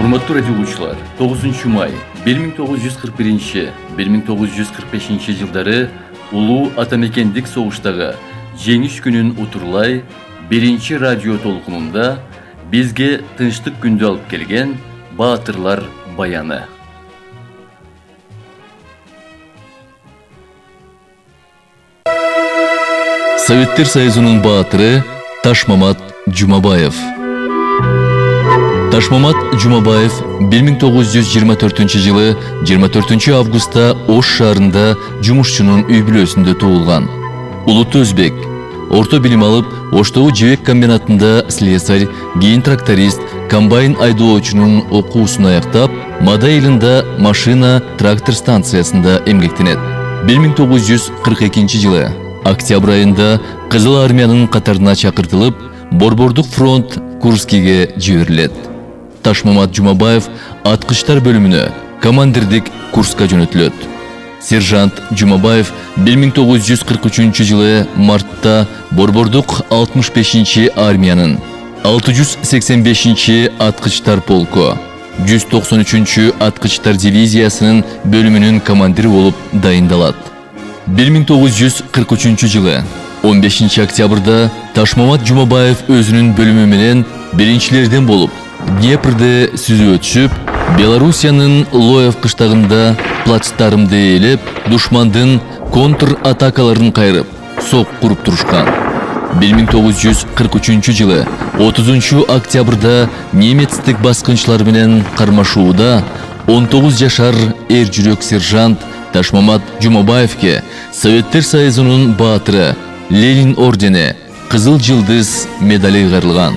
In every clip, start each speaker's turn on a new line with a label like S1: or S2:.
S1: Урматтуу радио угуучулар, 9 май 1941-1945 жылдары улуу атамекендик согуштагы жеңиш күнүн утурлай биринчи радио толкунунда бизге тынчтык күндү алып келген баатырлар баяны. Советтер Союзунун баатыры Ташмамат Жумабаев. Ташмамат Жумабаев 1924 жылы 24 августта Ош шаарында жумушчунун үй бүлөсүндө туулган. Улуттуу өзбек. Орто билим алып, Оштогу жебек комбинатында слесарь, кийин тракторист, комбайн айдоочунун окуусун аяктап, Мада айылында машина трактор станциясында эмгектенет. 1942 жылы октябрь айында Кызыл армиянын катарына чакыртылып, Борбордук фронт Курскиге жиберилет. Ташмамат Жумабаев аткычтар бөлүмүнө командирдик курска жөнөтүлөт. Сержант Жумабаев 1943 жылы мартта Борбордук 65 армиянын 685 аткычтар полку, 193 аткычтар дивизиясынын бөлүмүнүн командири болуп дайындалат. 1943 жылы 15 октябрда Ташмамат Жумабаев өзүнүн бөлүмү менен биринчилерден болуп Днепрде сүзүп өтүшүп, Белоруссиянын Лоев кыштагында плацдармды ээлеп, душмандын контр-атакаларын кайрып, сок куруп турушкан. 1943 жылы 30 октябрда немецтик баскынчылар менен кармашууда 19 жашар эр жүрөк сержант Ташмамат Жумабаевке Советтер Союзунун баатыры Ленин ордени, Кызыл жылдыз медали кайрылган.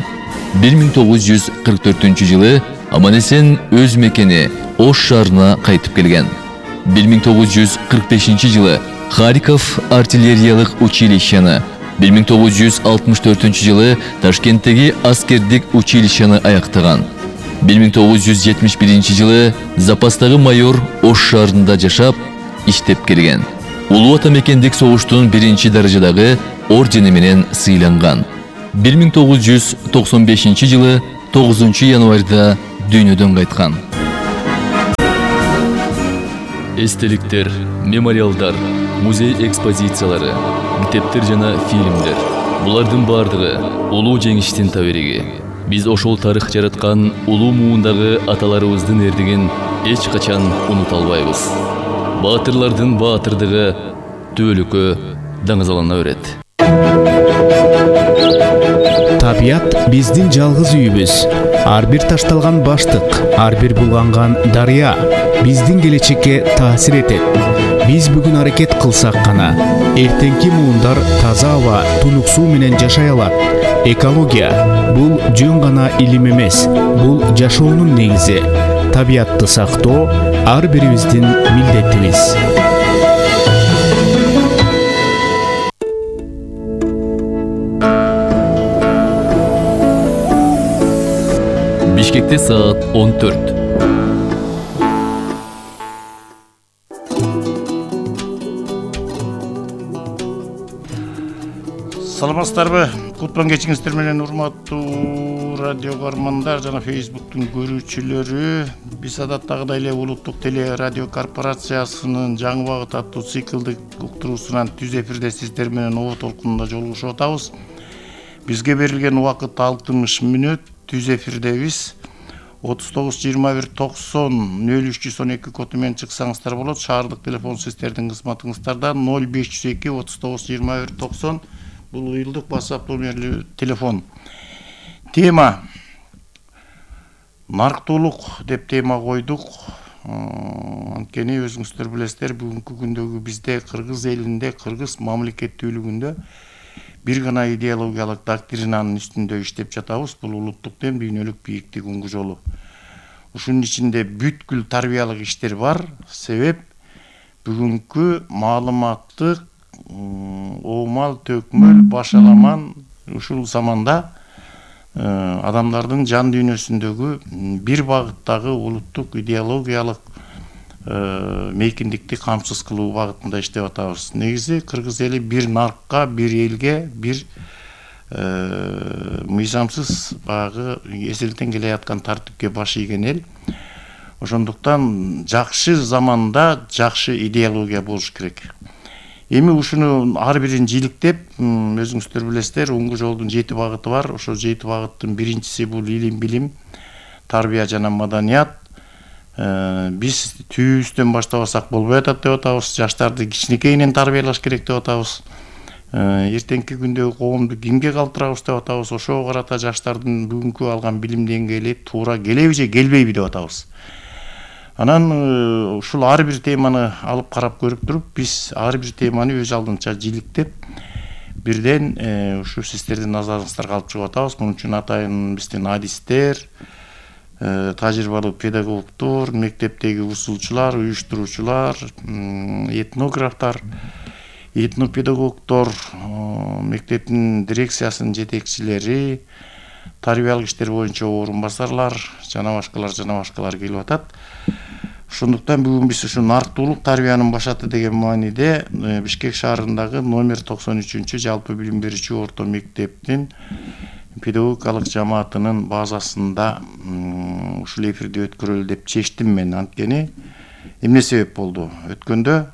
S1: 1944 жылы аман-эсен өз мекени Ош шаарына кайтып келген. 1945 жылы Харьков артиллериялык училищени, 1964 жылы Ташкенттеги аскердик училищени аяктаган. 1971 жылы запастагы майор Ош шаарында жашап, иштеп келген. Улуу атамекендик согуштун биринчи даражадагы ордени менен сыйланган. 1995 жылы 9 январда дүйнөдөн кайткан. Эстеликтер, мемориалдар, музей экспозициялары, китептер жана фильмдер. Булардын бардыгы улуу жеңиштин табириги. Биз ошол тарых жараткан улуу муундагы аталарыбыздын эрдигин эч качан унута албайбыз. Баатырлардын баатырдыгы түбөлүккө даңазалана берет.
S2: Табият биздин жалгыз үйүбүз. Ар бир ташталган баштык, ар бир булганган дарыя биздин келечекке таасир этет. Биз бүгүн аракет кылсак гана эртеңки муундар таза аба, тунук суу менен жашай алат. Экология бул жөн гана илим эмес, бул жашоонун негизи. Табиятты сактоо ар бирибиздин милдетибиз.
S1: Бишкекте саат 14.
S3: Саламатсыздарбы? Кутман кечиңиздер менен урматтуу радио көрөрмандар жана Facebooktун көрүүчүлөрү. Биз адаттагыдай эле Улуттук теле радио корпорациясынын жаңы багыт аттуу циклдик уктуруусунан түз эфирде сиздер менен оо толкунунда жолугушуп атабыз. Бизге берилген убакыт 60 мүнөт. Түз эфирдебиз. 39-21-90-03-112 коду менен чыксаңыздар болот. Шаардык телефон сиздердин кызматыңыздарда 0502-39-21-90. Бул уюлдук WhatsApp номерлүү телефон. Тема нарктуулук деп тема койдук. Анткени өзүңүздөр билесиздер, бүгүнкү күндөгү бизде Кыргыз элинде, Кыргыз мамлекеттүүлүгүндө бир гана идеологиялык доктринанын үстүндө иштеп жатабыз. Бул улуттук дем, дүйнөлүк бийиктик уңгу жолу. Ушунун ичинде бүткүл тарбиялык иштер бар. Себеп бүгүнкү маалыматтык оомал төкмөл башаламан ушул заманда адамдардын жан дүйнөсүндөгү бир багыттагы улуттук идеологиялык мейкиндикти камсыз кылуу багытында иштеп атабыз. Негизи Кыргыз эли бир наркка, бир элге, бир мыйзамсыз баягы эзелтен келе жаткан тартипке баш ийген эл. Ошондуктан жакшы заманда жакшы идеология болуш керек. Эми ушуну ар бирин жиликтеп, өзүңүздөр билесиздер, оңгу жолдун 7 багыты бар. Ошол 7 багыттын биринчиси бул илим, билим, тарбия жана маданият. Биз түйүбүздөн баштабасак болбой атат деп атабыз. Жаштарды кичинекейинен тарбиялаш керек деп атабыз. Эртеңки күндөгү коомду кимге калтырабыз деп атабыз. Ошого карата жаштардын бүгүнкү алган билим деңгээли туура келеби же келбейби деп атабыз. Анан ушул ар бир теманы алып карап көрүп туруп, биз ар бир теманы өз алдынча жиликтеп, бирден ушу сиздердин назарыңыздарга алып чыгып атабыз. Мунун үчүн атайын биздин адистер, тажрыйбалуу педагогдор, мектептеги усулчулар, уюштуруучулар, этнографтар, этнопедагогдор, мектептин дирекциясынын жетекчилери, тарбиялык иштер боюнча орун басарлар, жана башкалар келип атат. Ошондуктан бүгүн биз ушу нарктуулук тарбиянын башаты деген мааниде Бишкек шаарындагы номер 93 жалпы билим берүүчү орто мектептин педагогикалык жамаатынын базасында ушул эфирди өткөрөлү деп чечтим мен. Анткени эмне себеп болду? Өткөндө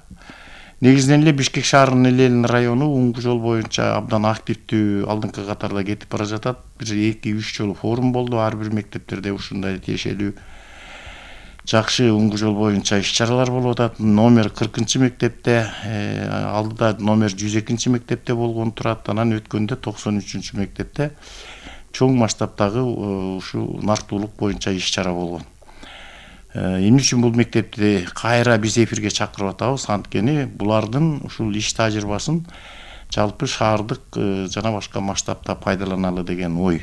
S3: негизинен эле Бишкек шаарынын элелин району оңгу жол боюнча абдан активдүү алдыңкы катарда кетип бара жатат. Бир 2-3 жолу форум болду. Ар бир мектептерде ушундай тиешелүү жакшы оңгу жол боюнча иш-чаралар болуп атат. Номер 40 мектепте, алдыда номер 102 мектепте болгон турат. Анан өткөндө 93 мектепте чоң масштабтагы ушул нарктуулук боюнча иш-чара болгон. Эмне үчүн бул мектепти кайра биз эфирге чакырып атабыз? Анткени булардын ушул иш тажрыйбасын жалпы шаардык жана башка масштабта пайдаланалы деген ой.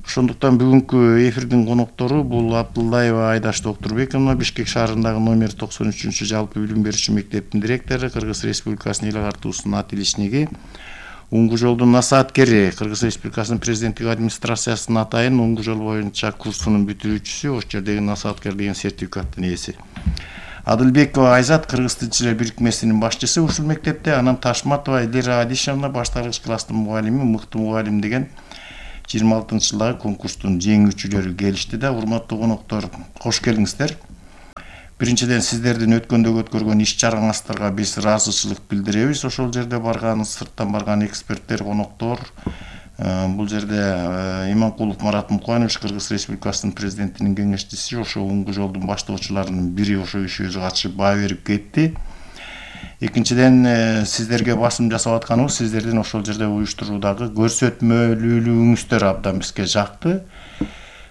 S3: Ошондуктан бүгүнкү эфирдин коноктору бул Абдуллаева Айдаш Доктурбековна, Бишкек шаарындагы номер 93 жалпы билим берүүчү мектептин директору, Кыргыз Республикасынын эл агартуусунун ат-иличниги, оңгу жолдун насааткери, Кыргыз Республикасынын президенттик администрациясынын атайын оңгу жол боюнча курсунун бүтүрүүчүсү, ошол жердеги насааткер деген сертификаттын ээси. Адылбекова Айзат, Кыргыз тилчилер бирикмесинин башчысы ушул мектепте. Анан Ташматова Элира Адишевна, башталгыч класстын мугалими, мыкты мугалим деген 26-жылдагы конкурстун жеңүүчүлөрү келишти да. Урматтуу коноктор, кош келиңиздер. Биринчиден сиздердин өткөндөгү өткөргөн иш-чараңыздарга биз ыраазычылык билдиребиз. Ошол жерде барган, сырттан барган эксперттер, коноктор, бул жерде Иманкулов Марат Муканович, Кыргыз Республикасынын президентинин кеңешчиси, ошо оңгу жолдун баштоочуларынын бири ошо ишибизге катышып баа берип кетти. Экинчиден сиздерге басым жасап атканыбыз, сиздердин ошол жерде уюштуруудагы көрсөтмөлүүлүгүңүздөр абдан бизге жакты.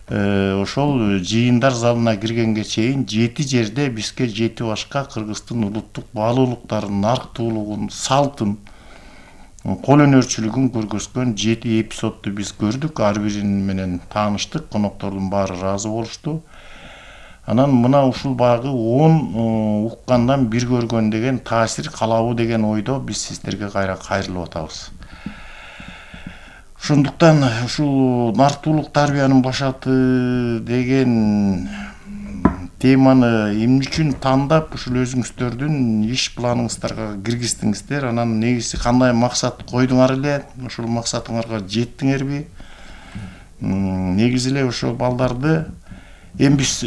S3: Ошол жыйындар залына киргенге чейин 7 жерде бизге 7 башка кыргыздын улуттук баалуулуктарын, нарктуулугун, салтын, кол өнөрчүлүгүн көргөзгөн 7 эпизодду биз көрдүк. Ар бирин менен тааныштык, коноктордун баары ыраазы болушту. Анан мына ушул багы 10 уккандан бир көргөн деген таасир калабы деген ойдо биз сиздерге кайрылып атабыз. Ошондуктан ушул нарктуулук тарбиянын башаты деген теманы эмне үчүн тандап ушул өзүңүздөрдүн иш планыңыздарга киргиздиңиздер? Анан негизи кандай максат койдуңар эле? Ошол максатыңарга жеттиңерби? Негизи эле ошол балдарды эми биз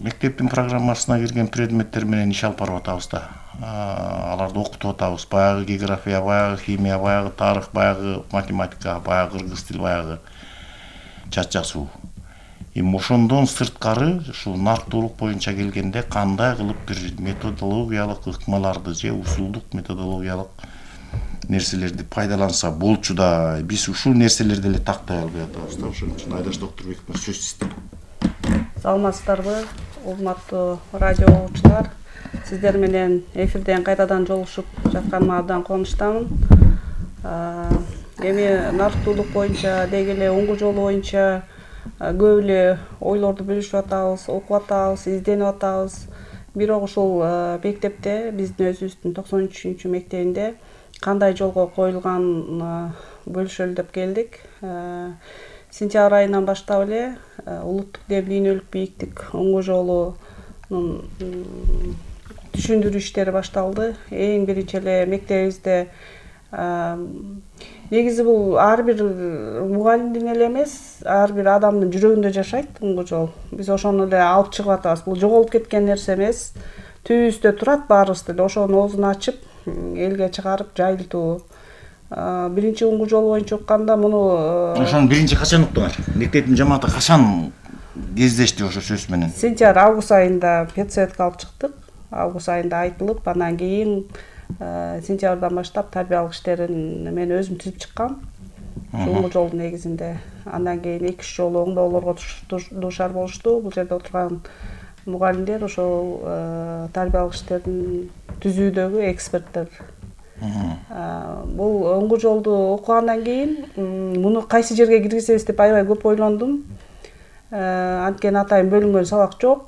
S3: мектептин программасына кирген предметтер менен иш алып барып атабыз да. Аларды окутуп атабыз. Баягы география, баягы химия, баягы тарых, баягы математика, баягы кыргыз тил, баягы жат жазуу. Эми ошондон сырткары ушул нарктуулук боюнча келгенде кандай кылып бир методологиялык ыкмаларды же усулдук методологиялык нерселерди пайдаланса болчу да, биз ушул нерселерди эле тактай албай атабыз да. Ошон үчүн Айдаш Доктурбеков сөз сизде.
S4: Саламатсыздарбы, урматтуу радио угуучулар. Сиздер менен эфирден кайрадан жолугушуп жатканыма абдан кубанычтамын. Эми нарктуулук боюнча деги эле оңгу жол боюнча көп эле ойлорду бөлүшүп атабыз, окуп атабыз, изденип атабыз. Бирок ушул мектепте, биздин өзүбүздүн 93 мектебинде кандай жолго коюлган бөлүшөлү деп келдик. Сентябрь айынан баштап эле улуттук деп дүйнөлүк бийиктик оңгу жолунун түшүндүрүү иштери башталды. Эң биринчи эле мектебибизде негизи бул ар бир мугалимдин эле эмес, ар бир адамдын жүрөгүндө жашайт уңгу жол. Биз ошону эле алып чыгып атабыз. Бул жоголуп кеткен нерсе эмес. Түбүбүздө турат баарыбызда эле. Ошонун оозун ачып, элге чыгарып жайылтуу. Биринчи уңгу жол боюнча укканда муну
S3: Ошону биринчи качан уктуңар? Мектептин жамааты качан кездешти ошо сөз менен?
S4: Сентябрь август айында педсоветке алып чыктык. Август айында айтылып, андан кийин сентябрдан баштап тарбиялык иштерин мен өзүм түзүп чыккам. Уңгу жолдун негизинде. Андан кийин 2-3 жолу оңдоолорго дуушар болушту. Бул жерде отурган мугалимдер ошол тарбиялык иштерин түзүүдөгү эксперттер. Бул уңгу жолду окугандан кийин муну кайсы жерге киргизебиз деп аябай көп ойлондум. Анткени атайын бөлүнгөн сабак жок.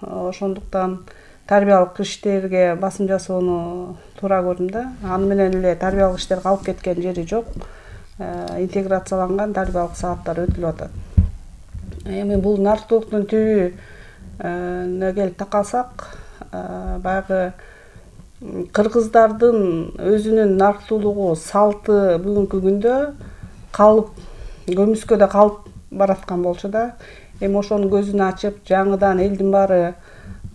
S4: Ошондуктан тарбиялык иштерге басым жасоону туура көрдүм да. Аны менен эле тарбиялык иштер калып кеткен жери жок. Интеграцияланган тарбиялык сааттар өтүлүп атат. Эми бул нарықтуулуктун түбү келип такалсак, баягы кыргыздардын өзүнүн нарктуулугу, салты бүгүнкү күндө калып, көмүскөдө калып бараткан болчу да. Эми ошонун көзүн ачып, жаңыдан элдин баары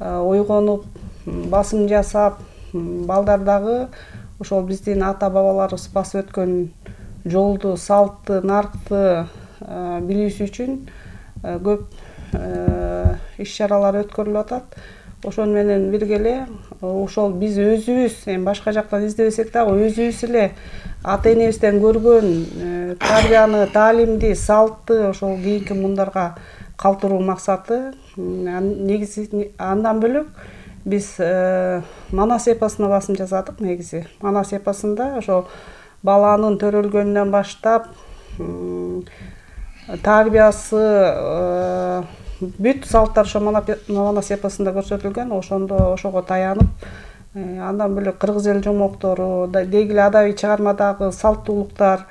S4: ойгонуп, басым жасап, балдар дагы ошол биздин ата бабаларыбыз басып өткөн жолду, салтты, наркты билүүсү үчүн көп иш-чаралар өткөрүлүп атат. Ошону менен бирге эле ошол биз өзүбүз, эми башка жактан издебесек дагы өзүбүз эле ата энебизден көргөн тарбияны, таалимди, салтты ошол кийинки муундарга калтыруу максаты. Негизи андан бөлөк биз Манас эпосуна басым жасадык негизи. Манас эпосунда ошол баланын төрөлгөнүнөн баштап тарбиясы, бүт салттар ошо Манас эпосунда көрсөтүлгөн. Ошого таянып, андан бөлөк кыргыз эл жомоктору, деги эле адабий чыгармадагы салттуулуктар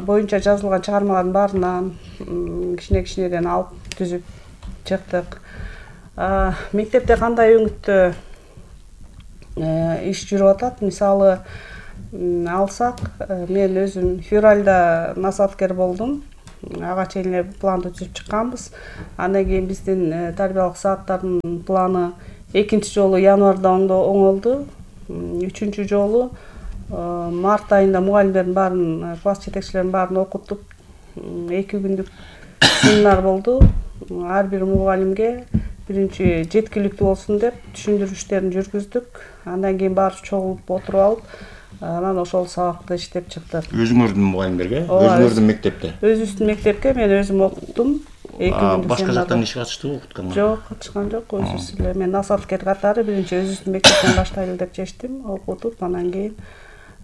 S4: боюнча жазылган чыгармалардын баарынан кичине-кичинеден алып түзүп чыктык. Мектепте кандай өңүттө иш жүрүп атат? Мисалы алсак, мен өзүм февралда насаткер болдум. Ага чейин эле планды түзүп чыкканбыз. Андан кийин биздин тарбиялык сааттардын планы экинчи жолу январда оңолду. Үчүнчү жолу март айында мугалимдердин баарын, класс жетекчилеринин баарын окутуп, 2 күндүк семинар болду. Ар бир мугалимге биринчи жеткиликтүү болсун деп түшүндүрүү иштерин жүргүздүк. Андан кийин баарыбыз чогулуп отуруп алып, анан ошол сабакты иштеп чыктык.
S3: Өзүңөрдүн мугалимдерге, өзүңөрдүн мектепте?
S4: Өзүбүздүн мектепке мен өзүм окуттум. 2 күндүк.
S3: Башка жактан ишке катыштыбы, окутканга?
S4: Жок, катышкан жок. Өзүбүз эле. Мен насаткер катары биринчи өзүбүздүн мектептен баштайлы деп чечтим, окутуп, анан кийин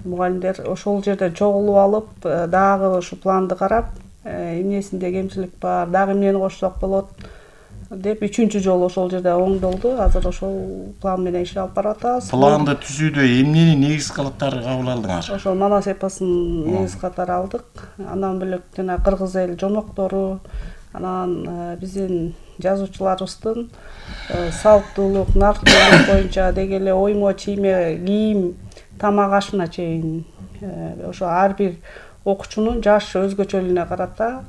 S4: мугалимдер ошол жерде чогулуп алып, дагы ушу планды карап, эмнесинде кемчилик бар, дагы эмнени кошсок болот деп 3-чү жолу ошол жерде оңдолду. Азыр ошол план менен иш алып барып атабыз.
S3: Планды түзүүдө эмнени негиз катары кабыл алдыңар?
S4: Ошол Манас эпосун негиз катары алдык. Андан бөлөк жана кыргыз эл жомоктору, анан биздин жазуучуларыбыздын салттуулук, нарктуулук боюнча деги эле оймо, чийме, кийим, тамак ашына чейин ошо ар бир окуучунун жаш өзгөчөлүгүнө карата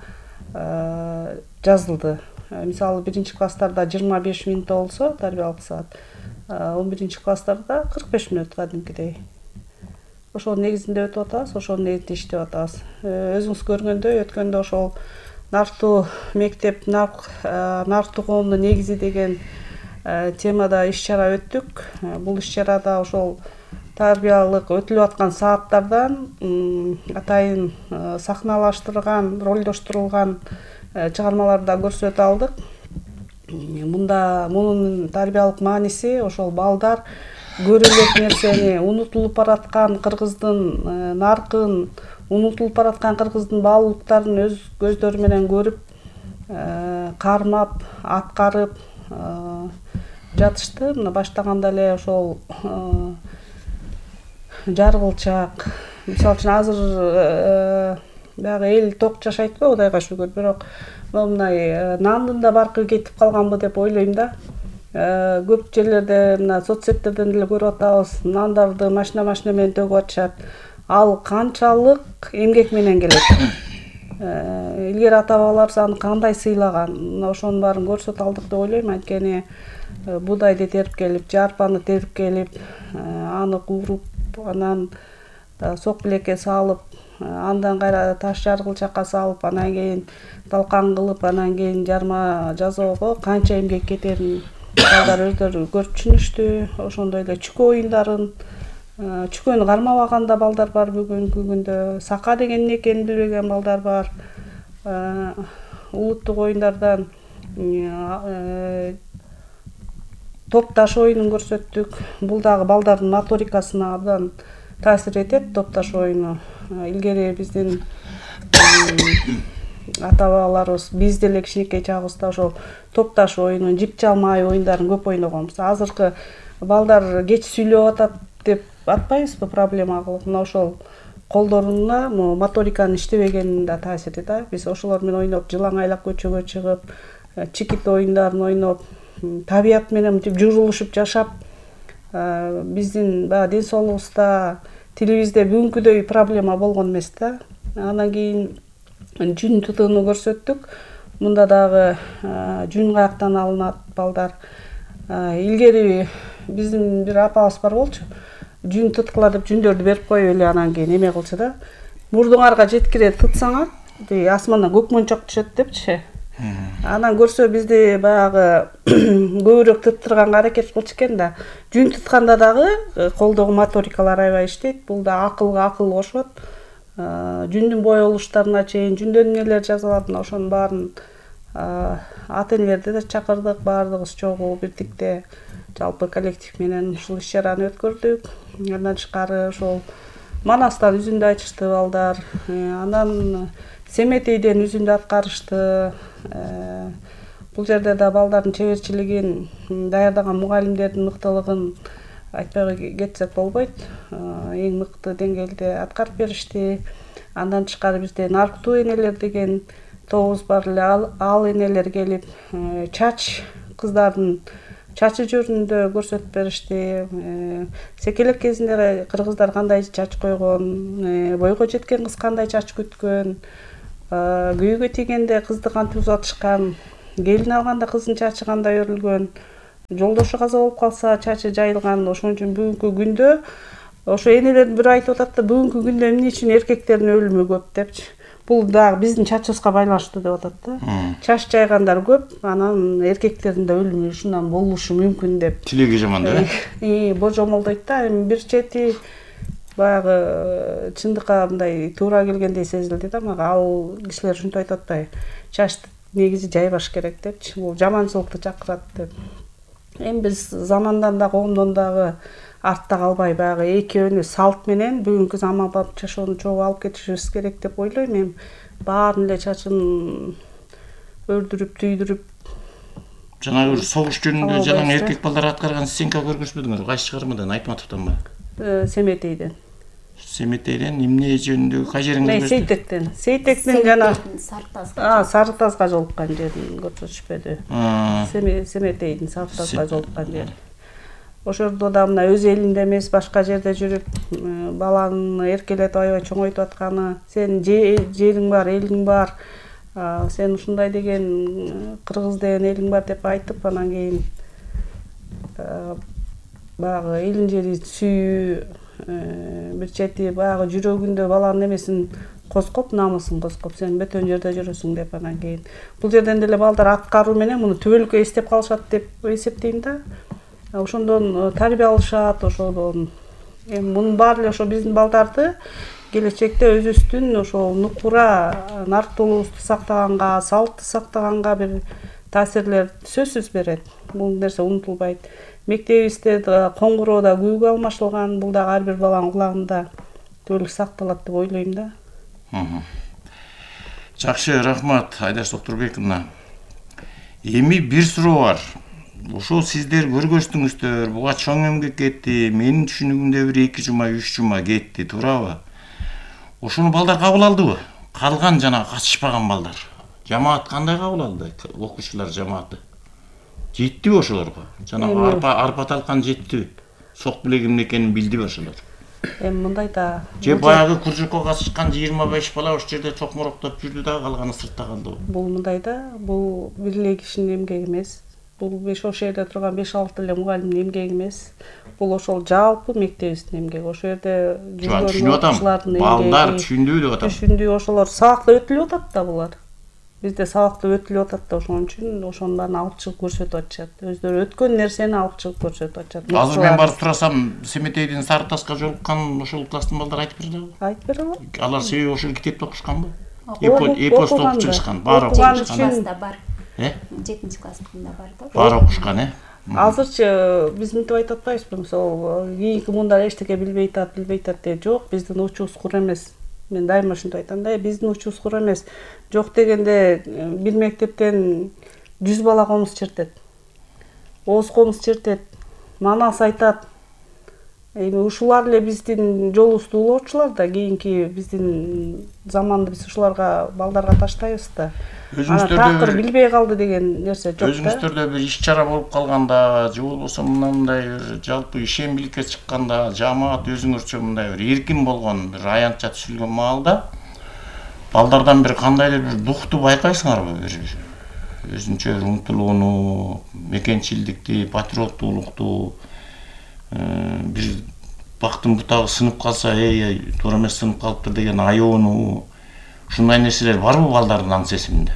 S4: жазылды. Мисалы 1-класстарда 25 мүнөт болсо тарбиялык саат, 11-класстарда 45 мүнөт кадимкидей. Ошонун негизинде өтүп атабыз, ошонун негизинде иштеп атабыз. Өзүңүз көргөндөй, өткөндө ошол нарктуу мектеп, нарктуу коомдун негизи деген темада иш-чара өттүк. Бул иш-чарада ошол тарбиялык өтүлүп аткан сааттардан атайын сахналаштырылган, ролдоштурулган чыгармаларды да көрсөтө алдык. Мунун тарбиялык мааниси ошол балдар көрө элек нерсени, унутулуп бараткан кыргыздын наркын, унутулуп бараткан кыргыздын баалуулуктарын өз көздөрү менен көрүп, кармап, аткарып жатышты. Мына баштаганда эле ошол Жаргылчак, мисалы үчүн азыр дагы эл ток жашайтпы, Кудайга шүгүр, бирок мындай нандын да баркы кетип калганбы деп ойлойм да. Көп жерлерде мына соцсеттерден деле көрүп атабыз, нандарды машина менен төгүп атышат. ал канчалык эмгек менен келет. Илгери ата бабаларыбыз аны кандай сыйлаган, мына ошонун баарын көрсөтө алдык деп ойлойм. Анткени буудайды терип келип, жарпаны терип келип, аны кууруп, анан сок билекке салып, андан кайра таш жаргылчакка салып, анан кийин талкан кылып, анан кийин жарма жасоого канча эмгек кетерин балдар өздөрү көрүп түшүнүштү. Ошондой эле чүкө оюндарын, чүкөнү кармабаган да балдар бар бүгүнкү күндө. Сака деген эмне экенин билбеген балдар бар. Улуттук оюндардан топташ оюнун көрсөттүк. Бул дагы балдардын моторикасына абдан таасир этет, топташ оюну. Илгери биздин ата бабаларыбыз, биз деле кичинекей чагыбызда ошол топташ оюнун, жип жалмай оюндарын көп ойногонбуз. Азыркы балдар кеч сүйлөп атат деп атпайбызбы, проблема кылып. Мына ошол колдоруна моториканын иштебегенин да таасири да. Биз ошолор менен ойноп, жылаң айлап көчөгө чыгып, чикит оюндарын ойноп, табият менен мынтип журулушуп жашап, биздин баягы ден соолугубузда тилибизде бүгүнкүдөй проблема болгон эмес да. Андан кийин жүн тутууну көрсөттүк. Мында дагы жүн каяктан алынат балдар. Илгери биздин бир апабыз бар болчу. Жүн туткула деп жүндөрдү берип коюп эле анан кийин эме кылчу да. Мурдуңарга жеткире тытсаңар, асмандан көк мончок түшөт депчи. Анан көрсө бизди баягы көбүрөөк тыттырганга аракет кылчу экен да. Жүн тутканда дагы колдогу моторикалар аябай иштейт. Бул да акылга акыл кошот. Жүндүн боелуштарына чейин, жүндөн эмнелер жасалат, ошонун баарын ата-энелерди да чакырдык, баардыгыбыз чогуу бирдикте жалпы коллектив менен ушул иш-чараны өткөрдүк. Андан тышкары ошол Манастан үзүндү айтышты балдар. Анан Семетейден үзүндү аткарышты. Бул жерде да балдардын чеберчилигин, даярдаган мугалимдердин мыктылыгын айтпай кетсек болбойт. Эң мыкты деңгээлде аткарып беришти. Андан тышкары бизде нарктуу энелер деген тобубуз бар эле. Ал энелер келип, чач кыздардын чачы жөнүндө көрсөтүп беришти. Секелек кезинде кыргыздар кандай чач койгон, бойго жеткен кыз кандай чач күткөн, күйөөгө тийгенде кызды кантип узатышкан, келин алганда кыздын чачы кандай өрүлгөн, жолдошу каза болуп калса чачы жайылган. Ошон үчүн бүгүнкү күндө ошо энелердин бири айтып атат да, бүгүнкү күндө эмне үчүн эркектердин өлүмү көп депчи. Бул дагы биздин чачыбызга байланыштуу деп атат да. Чач жайгандар көп, анан эркектердин да өлүмү ушундан болушу мүмкүн деп.
S3: Тилеги жаман да.
S4: Божомолдойт да. Эми бир чети баягы чындыкка мындай туура келгендей сезилди да мага. Ал кишилер ушинтип айтып атпайбы? Чачты негизи жайбаш керек депчи. Бул жаманчылыкты чакырат деп. Эми биз замандан да коомдон дагы артта калбай баягы экөөнү салт менен бүгүнкү заманбап жашоону чогуу алып кетишибиз керек деп ойлойм. Эми баарын эле чачын өрдүрүп, түйдүрүп.
S3: Жанагы бир согуш жөнүндө жанагы эркек балдар аткарган сценка көргөнсүңөрбү? Кайсы чыгармадан, Айтматовдонбу?
S4: Семетейден.
S3: Семетейден эмне жөнүндө кай жериңде көрсөттү?
S4: Сейтектен. Сейтектин жана Сары Тазга жолуккан жерин көрсөтүшпөдү. Семетейдин Сары Тазга жолуккан жери. Ошордо да мына өз элинде эмес, башка жерде жүрүп, баланы эркелетип аябай чоңойтуп атканы, сенин жериң бар, элиң бар, сен ушундай деген кыргыз деген элиң бар деп айтып, анан кийин баягы элин жерин сүйүү, бир чети баягы жүрөгүндө баланын эмесин козгоп, намысын козгоп, сен бөтөн жерде жүрөсүң деп, анан кийин бул жерден деле балдар аткаруу менен муну түбөлүккө эстеп калышат деп эсептейм да. Ошондон тарбия алышат, ошодон. Эми мунун баары эле ошо биздин балдарды келечекте өзүбүздүн ошол нукура, нарктуулугубузду сактаганга, салтты сактаганга бир таасирлер сөзсүз берет. Бул нерсе унутулбайт. Мектебибизде коңгуроода күүгө алмашылган, бул дагы ар бир баланын кулагында түбөлүк сакталат деп ойлойм да.
S3: Жакшы, рахмат Айдаш Доктурбековна. Эми бир суроо бар. Ошол сиздер көргөздүңүздөр, буга чоң эмгек кетти, менин түшүнүгүмдө бир 2 жума, 3 жума кетти, туурабы? Ошону балдар кабыл алдыбы? Калган жана катышпаган балдар. Жамаат кандай кабыл алды? Окуучулар жамааты. Жеттиби ошолорго? Жана арпа талкан жеттиби? Сок билек эмне экенин билдиби ошолор?
S4: Эми мындай да
S3: же баягы кружокко катышкан 25 бала ошол жерде чокмуроктоп жүрдү да калганы сыртта калды.
S4: бул мындай да, бул бир эле кишинин эмгеги эмес. Бул ошол жерде турган 5-6 эле мугалимдин эмгеги эмес. Бул ошол жалпы мектебибиздин эмгеги. Ошол жерде жүргөн
S3: Түшүнүп атам.
S4: окуучулардын эмгеги.
S3: Балдар түшүндү деп атам.
S4: Түшүндү, ошолор сабакта өтүлүп атат да булар. Бизде сабакта өтүлүп атат да, ошон үчүн ошонун баарын алып чыгып көрсөтүп атышат. Өздөрү өткөн нерсени алып чыгып көрсөтүп атышат.
S3: Азыр мен барып турасам, Семетейдин Сары Таска жолуккан ошол класстын балдары айтып берди.
S4: Айтып бере алат.
S3: Алар себеби ошол китепти окушканбы?
S4: Эпосту
S3: окуп чыгышкан, баары
S4: окуган
S3: окушкан.
S4: үчүн
S5: бар. 7-ci класстыкында бар да.
S3: Баары окушкан,
S4: азырчы биз мынтип айтып атпайбызбы, мисалы кийинки муундар эчтеке билбей атат деп. Жок, биздин учубуз кур эмес. Мен дайыма ушинтип айтам да, биздин учубуз кур эмес. Жок дегенде бир мектептен 100 бала комуз чертет. Ооз комуз чертет. Манас айтат. Эми ушулар эле биздин жолубузду улоочулар да, кийинки биздин заманды биз ушуларга балдарга таштайбыз да. Такыр билбей калды деген нерсе жок да.
S3: Өзүңүздөрдө бир иш-чара болуп калганда, же болбосо мындай бир жалпы ишембиликке чыкканда, жамаат өзүңөрчө мындай бир эркин болгон, бир аянтча түзүлгөн маалда балдардан бир кандайдыр бир духту байкайсыңарбы? Бир өзүнчө бир умтулууну, мекенчилдикти, патриоттуулукту, бир бактын бутагы сынып калса, туура эмес сынып калыптыр деген аёну, ушундай нерселер барбы балдардын аң сезиминде?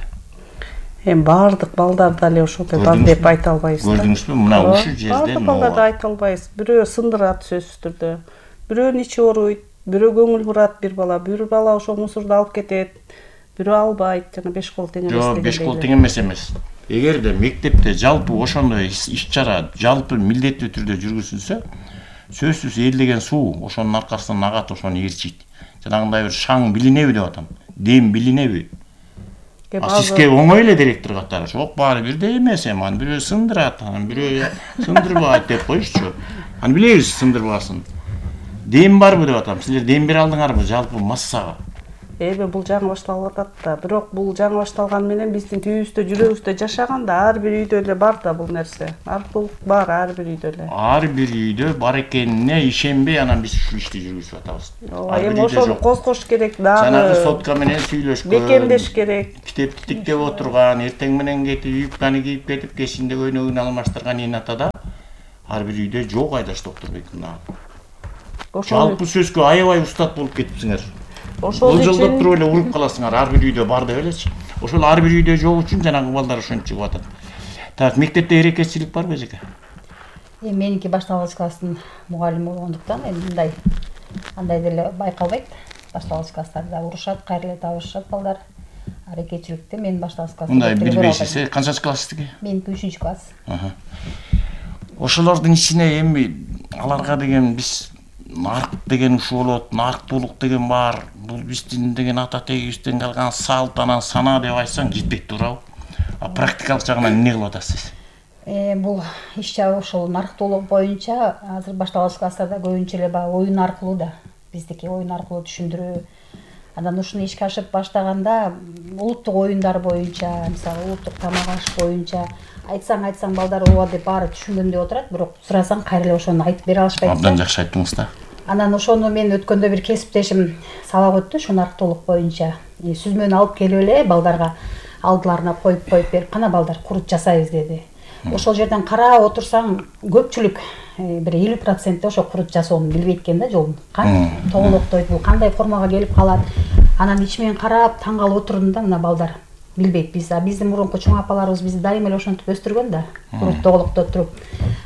S4: Эми баардык балдарда эле ошондой бар деп айта албайбыз.
S3: Көрдүңүзбү? Мына ушул жерден
S4: баардык балдарды айта албайбыз. Бирөө сындырат сөзсүз түрдө. Бирөөнүн ичи ооруйт, бирөө көңүл бурат бир бала ошол мусорду алып кетет. Бирөө албайт, жана 5 кол тең эмес
S3: дегендей. Жок, 5 кол тең эмес. Эгерде мектепте жалпы ошондой иш-чара жалпы милдеттүү түрдө жүргүзүлсө, сөзсүз эл деген суу ошонун аркасынан агат, ошону ээрчийт. Жанагындай бир шаң билинеби деп атам. Дем билинеби? Сизге оңой эле директор катары. Жок, баары бирдей эмес эми. Аны бирөө сындырат, аны бирөө сындырбайт деп коюшчу. Аны билебиз сындырбасын. Дем барбы деп атам. Силер дем бере алдыңарбы жалпы массага?
S4: Эми бул жаңы башталып атат да. Бирок бул жаңы башталган менен биздин түйүбүздө, жүрөгүбүздө жашаганда ар бир үйдө эле бар да бул нерсе. Аркылык бар ар бир үйдө эле.
S3: Ар бир үйдө бар экенине ишенбей, анан биз ушул ишти жүргүзүп атабыз.
S4: Эми ошону козгош керек дагы.
S3: Жанагы сотка менен сүйлөшкөн.
S4: Бекемдеш керек.
S3: Китепти тиктеп отурган, эртең менен кетип юбканы кийип кетип, кечинде көйнөгүн алмаштырган инатада ар бир үйдө жок айдаш доктор Бекмурат. Жалпы сөзгө аябай устат болуп кетипсиңер. Ошол жолдоп туруп эле уруп каласыңар, ар бир үйдө бар деп элечи. Ошол ар бир үйдө жок үчүн жанагы балдар ошентип чыгып атат. Так, мектепте эрекетчилик барбы эжеке?
S5: Меники башталгыч класстын мугалими болгондуктан мындай андай деле байкалбайт. Башталгыч класстарда урушат, кайра эле табышышат балдар. Эрекетчиликте мен башталгыч класста.
S3: Мындай билбейсиз, канчанчы класстыгы?
S5: Меники 3-класс.
S3: Ошолордун ичине эми аларга деген биз нарк деген ушул болот, нарктуулук деген бар. Бул биздин деген ата тегибизден калган салт, анан санаа деп айтсаң жетпейт туурабы? А практикалык жагынан эмне кылып атасыз?
S5: Бул иш-чара ошол нарктуулук боюнча азыр башталгыч класстарда көбүнчө эле баягы оюн аркылуу да. Биздики оюн аркылуу түшүндүрүү. Анан ушуну ишке ашырып баштаганда улуттук оюндар боюнча, мисалы улуттук тамак аш боюнча айтсаң балдар ооба деп баары түшүнгөндөй отурат, бирок сурасаң кайра эле ошону айтып бере алышпайт.
S3: Абдан жакшы айттыңыз да.
S5: Анан ошону мен өткөндө бир кесиптешим сабак өттү, ушу нарктуулук боюнча. Сүзмөнү алып келип эле балдарга алдыларына коюп берип, кана балдар курут жасайбыз деди. Ошол жерден карап отурсаң, көпчүлүк бир 50% ошо курут жасоону билбейт экен да, жолун. Кантип тоголоктойт, бул кандай формага келип калат. Анан ичимен карап таң калып отурдум да, мына балдар билбейт. Биздин мурунку чоң апаларыбыз бизди дайыма эле ошентип өстүргөн да, курут тоголоктоп туруп.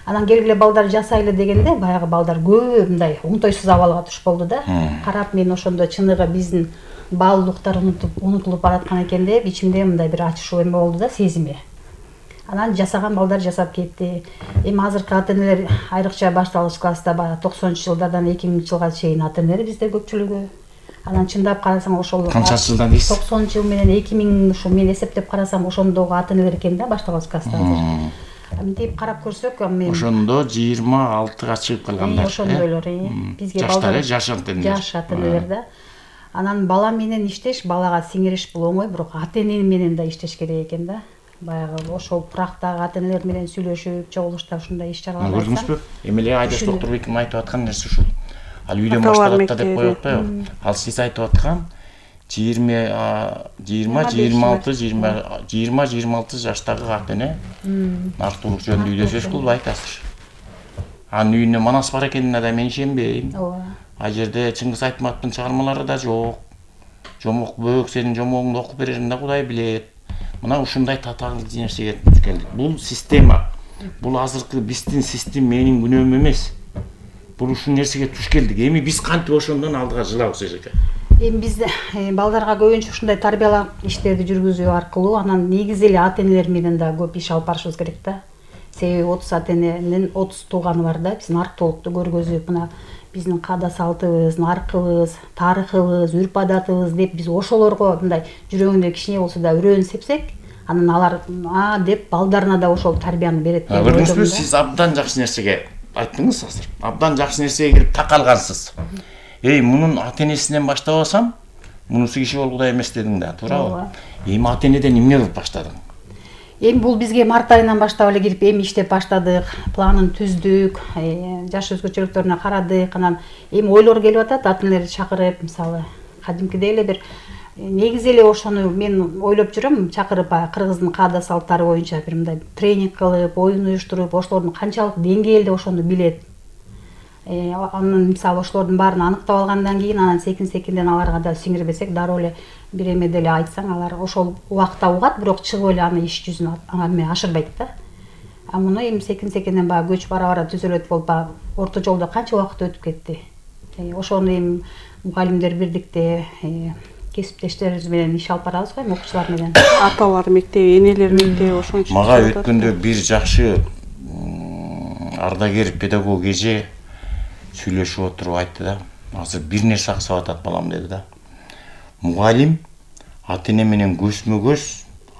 S5: Анан келгиле балдар жасайлы дегенде, баягы балдар көп мындай оңтойсуз абалга туш болду да. Карап мен ошондо чыныгы биздин баалуулуктар унутулуп бараткан экен деп, ичимде мындай бир ачышуу эме болду да, сезими. Анан жасаган балдар жасап кетти. Эми азыркы ата-энелер айрыкча башталгыч класста баягы 90-жылдардан 2000-жылга чейин ата-энелер бизде көпчүлүгү. Анан чындап карасаң ошол
S3: канчасы жылдан дейсиз?
S5: 90 жыл менен 2000 ушу мен эсептеп карасам ошондогу ата-энелер экен да, башталгыч класста азыр. Мынтип карап көрсөк, мен
S3: ошондо 26-га чыгып калгандар.
S5: Ошондойлор, бизге балдар
S3: жаш
S5: ата-энелер да. Анан бала менен иштеш, балага сиңириш бул оңой, бирок ата-эне менен да иштеш керек экен да. Баягы ошол практагы ата-энелер менен сүйлөшүп, чогулуштар ушундай иш-чаралар.
S3: Көрдүңүзбү? Эми эле Айдаш доктор Беким айтып аткан нерсе ушул. ал үйдөн
S4: Аталар
S3: башталат да деп коюп
S4: мектеби.
S3: атпайбы? Ал сиз айтып аткан 20-26 жаштагы ата эне нарктуулук жөнүндө үйдө сөз кылбайт азыр. Анын үйүнө манас бар экенине да мен ишенбейм.
S5: ооба.
S3: Ал жерде Чыңгыз Айтматовдун чыгармалары да жок. Жомок бөөк сенин жомогуңду окуп берерин да Кудай билет. Мына ушундай татаалдуу нерсеге келдик. Бул система. Бул азыркы биздин систем менин күнөөм эмес. Бул ушул нерсеге туш келдик. Эми биз кантип ошондон алдыга жылабыз эжеке?
S5: Эми биз балдарга көбүнчө ушундай тарбиялап иштерди жүргүзүү аркылуу анан негизи эле ата энелер менен да көп иш алып барышыбыз керек да. Себеби 30 ата эненин 30 тууганы бар да. Биз нарктуулукту көргөзүп, мына биздин каада салтыбыз, наркыбыз, тарыхыбыз, үрп адатыбыз деп биз ошолорго мындай жүрөгүндө кичине болсо да үрөөн сепсек, анан алар деп балдарына да ошол тарбияны берет деп ойлойм
S3: Көрдүңүзбү,
S5: да.
S3: сиз абдан жакшы нерсеге айттыңыз азыр. Абдан жакшы нерсеге кирип такалгансыз. Мунун ата энесинен баштабасам, мунусу киши болгудай эмес дедиң да, туурабы? Эми ата энеден эмне кылып баштадың?
S5: Эми бул бизге март айынан баштап эле кирип эми иштеп баштадык, планын түздүк, жаш өзгөчөлүктөрүнө карадык, анан эми ойлор келип атат, ата энелерди чакырып, мисалы, кадимкидей эле бир негизи эле ошону мен ойлоп жүрөм, чакырып кыргыздын каада салттары боюнча бир мындай тренинг кылып, оюн уюштуруп, ошолордун канчалык деңгээлде ошону билет. Анын мисалы ошолордун баарын аныктап алгандан кийин анан секин-секинден аларга да сиңирбесек, дароо эле бир эмеде эле айтсаң, алар ошол убакта угат, бирок чыгып эле аны иш жүзүнө ашырбайт да. Муну эми секин-секинден баягы көч бара-бара түзөлөт болуп, орто жолдо канча убакыт өтүп кетти. Ошону эми мугалимдер бирдикте кесиптештерибиз менен иш алып барабыз го, окуучулар менен.
S4: Аталар мектеби, энелер мектеби ошончо.
S3: Мага өткөндө бир жакшы ардагер педагог эже сүйлөшүп отуруп айтты да. Азыр бир нерсе аксап атат балам деди да. Мугалим ата эне менен көзмө-көз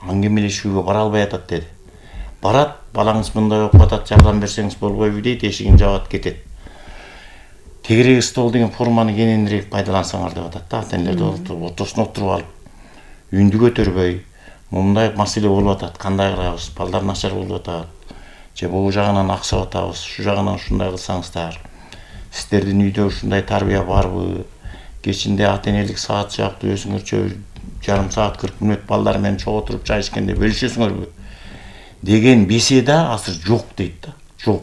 S3: аңгемелешүүгө бара албай атат деди. Барат, балаңыз мындай окуп атат, жардам берсеңиз болбойбу дейт, эшигин жабат кетет. Тегерек стол деген форманы кененирээк пайдалансаңар деп атат да. Ата энелер ортосуна отуруп алып, үндү көтөрбөй, мындай маселе болуп атат, кандай кылабыз, балдар начар болуп атат. Же бул жагынан аксап атабыз, шу жагынан ушундай кылсаңыздар. Сиздердин үйдө ушундай тарбия барбы? Кечинде ата энелик саат сыяктуу өзүңөрчө жарым саат 40 мүнөт балдар менен чогуу отуруп чай ичкенде бөлүшөсүңөрбү деген беседа азыр жок дейт да.